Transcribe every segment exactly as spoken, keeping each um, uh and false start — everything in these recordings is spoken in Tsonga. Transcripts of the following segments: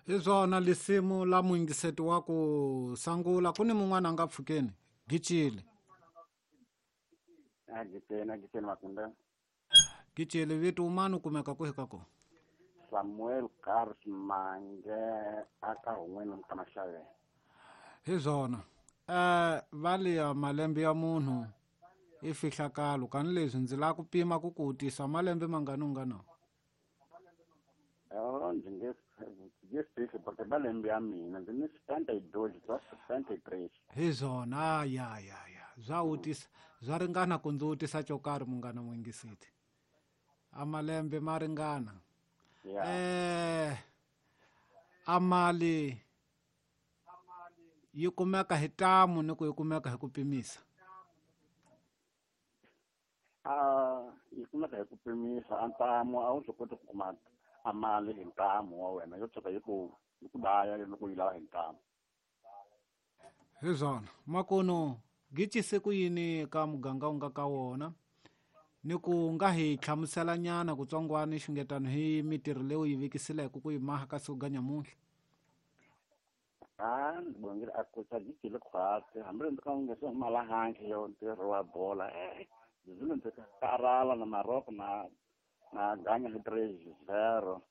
Hi swona lisimu la muyingiseti wa ku sangula ku ni mun'wana a nga pfukeni gicile. A gicile a gicile Makunda. Gicile vito umani u kumeka kwihi ka kona? Samuel Carlos Mange aka Hun'wini ka Maxaveni. Hi swona. Eh valiya malembe ya munhu i fihlakalo kani leswi ndzi lava ku pima ku ku tisa malembe mangani u nga na? Oh, ndzi nge nge fihli porque malembe ya mina ndzi ni setenta e dois, swa setenta e três. Hi swona, ya ya ya bya wutisa bya ringana ku ndzi wutisa xo karhi munghana muyingiseti. A malembe ma ringana. Ya. Eh a mali yi kumeka hi tamu ni ku yi kumeka hi ku pimisa. A yi kumeka hi ku pimisa. A ntamu a wu swi koti ku kuma a mali hi ntamu wa wena, yo tshuka yi ku yi ku daya loko yi lava hi ntamu. Hi swona. Makuno gicise ku yini ka muganga u nga ka wona ni ku nga hi hlamusela nyana kutsongwana xungetano hi mitirho leyi u yi vekisileke ku yi maha ka siku ga nyamuntlha? A ndzi bongile a ku sa gicile khwatsi hambi ndzi ka nge se huma la handle yo ntirho wa bola, eh ndzi ndzi karhala na Maroko na na ganya hi three zero.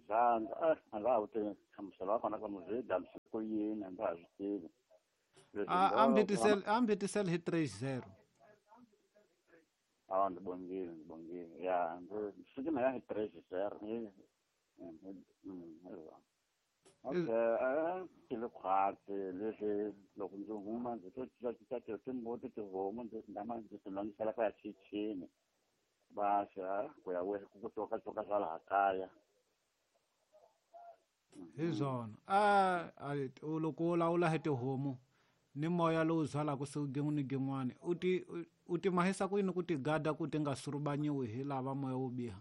Za a ndza ha wu tivi nhlamuselo wa kona ku zwi damise ku yini, a ndza ha swi tivi. Leswi A ndo a mbitisele a mbitisele hi three zero. Awa, ndzi bongile ndzi bongile ya ndzi siku na ya hi three zero hi okay. A cile khwatsi leswi loko ndzi huma ndzi to cincacinca timbuti, tihomu ndzi nama ndzi ti lwangisela ku ya chichini basa ku ya we ku cokacoka swa laha kaya. Hi swona. A a loko u lawula hi tihomu ni moya lowu zwalaka siku gin'we ni gin'wani, u ti u ti mahisa ku yini ku ti gada ku ti nga surubanyiwi hi lava moya wo biha?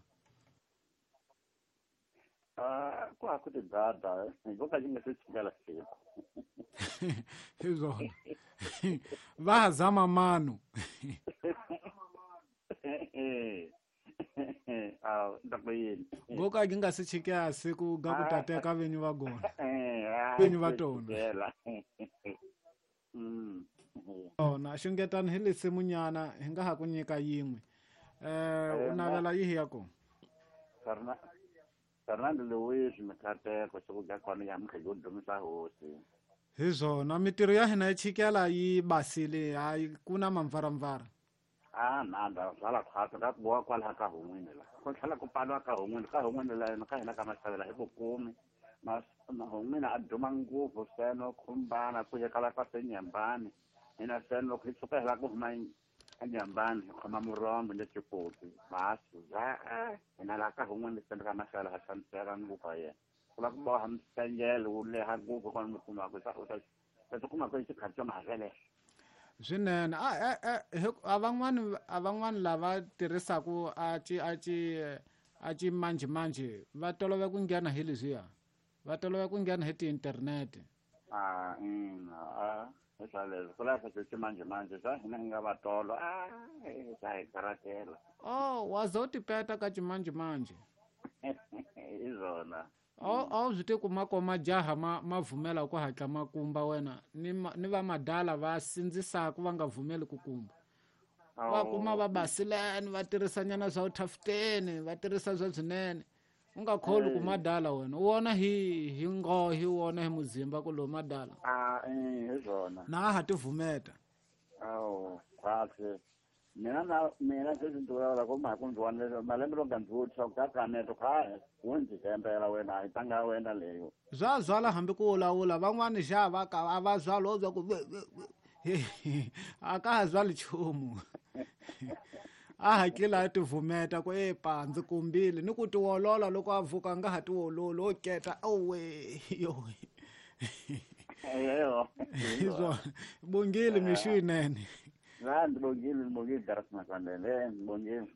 A ku ha ku ti gada hi ko ka yi nga se chikela siku. Hi swona, va ha zama mano. A ta ku yini? Ngo ka yi nga se chikela siku ga ku ta teka vinyi va gona vinyi va tona. Mm. Ona xungetani hi lisimunyana hi nga ha ku nyika yin'we. Eh u navela yihi ya kona? Ferna- Fernando Luis Mikateko siku ga kona nyamuntlha yo dumisa hosi. Hi swona, mitirho ya hina yi chikela yi basile, hayi ku na mamvaramvara. A nanda zwala khwatsi ka ku boha kwalaha ka Hun'wini la ku tlhela ku pfaliwa ka Hun'wini ka Hun'wini la ka hina ka Maxavela hi ku kumi Hun'wini a duma ngopfu seno khumbana ku yekala ka senyambani hina seno loko hi tshuka hi lava ku huma enyambani hi khoma murombo ni xikoti basi za hina laha ka Hun'wini seno ka Maxavela ha xaniseka ngopfu ha yena ku lava ku boha msengele wu leha ngopfu kona mi kumaka u ta u ta kuma ku i xikhathi xo mahavele. Swinene. A a a van'wani a van'wani lava tirhisaku a ci a ci a ci manjhe manjhe va tolove ku nghena hi leswiya, va tolove ku nghena hi ti-internet. A ina, a hi swa leswo ku lava swa ximanjhe manjhe swa hina hi nga vatolo a swa hi karatela. Oh, wa za u tipeta ka ximanjhe manjhe. Hi swona. A wu swi tivi ku ma majaha ma ma vhumela ku hatla ma kumba wena ni ni va madala va sindzisaka va nga vhumeli ku kumba va kuma va basileni va tirhisanyana swa vuthafteni va tirhisa swa swinene u nga kholi ku madala wena u vona hi hi nghohi u vona hi muzimba ku lowu madala. A hi swona. Na a ha ti vhumeta. Awu khwatsi mina na mina sweswi ndzi vulavula ku mhaka ndzi vona malembe loko ndzi vutisa ku ka kaneto kha wu ndzi hembela wena a yi tlanga wena leyo. Bya zwala hambi ku vulavula van'wani xa va ka a va zwali wo zwa ku a ka ha zwali nchumu a hatlile a tivhumeta ku epa ndzi kumbile ni ku tiwolola loko a vuka a nga ha tiwololi o keta owe yo. Eyo. Hi swona, bongile mixo yinene. La ndzi bongile ndzi bongile Daras Masandele, ndzi bongile.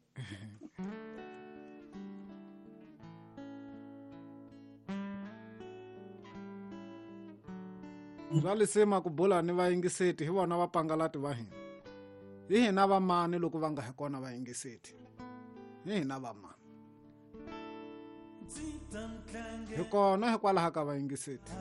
Bya lisima ku bula ni vayingiseti hi vona vapangalati va hina. Hi hina vamani loko va nga hi kona vayingiseti? Hi hina vamani? Hi kona hikwalaho ka vayingiseti.